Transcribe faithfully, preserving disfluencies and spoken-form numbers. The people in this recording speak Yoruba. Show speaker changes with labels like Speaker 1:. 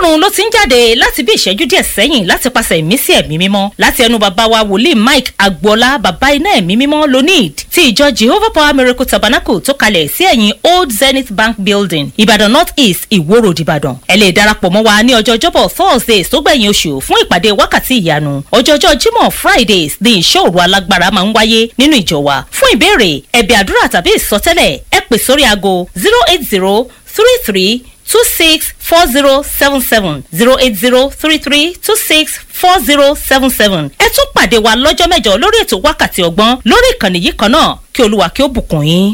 Speaker 1: Ọlọ́run ló ti ń jáde láti bí ìṣẹ́jú díẹ̀ sẹ́yìn láti pàṣẹ ìmísí ẹ̀mí mímọ́ láti ẹnu bàbá wa wòlíì Mike Agboola, bàbá iná ẹ̀mí mímọ́ lonid ti ìjọ Jehovah Power Miracle Tabernacle tó kalẹ̀ sí ẹ̀yìn Old Zenith Bank Building, Ìbàdàn North East, Ìwó Road, Ìbàdàn. Ẹ lè darapọ̀ mọ́ wa ní ọjọ́ Ọjọ́bọ̀ Thursdays tó gbẹ̀yìn oṣù fún ìpàdé wákàtí ìyanu. Ọjọ́jọ́ Jímọ̀ Fridays ní ìṣọ́ òru alágbára máa ń wáyé nínú ìjọ wa. Fún ìbéèrè, ẹ̀bẹ̀ àdúrà tàbí ìsọtẹ́lẹ̀, ẹ pè sórí aago zero eight zero three three two six four zero seven seven, zero eight zero three three two six four zero seven seven. Ẹ tún pàdé wa lọ́jọ́ mẹ́jọ lórí ètò Wákàtí Ọgbọ́n lórí ìkànnì yìí kan náà. Kí Olúwa kí ó bùkún yín.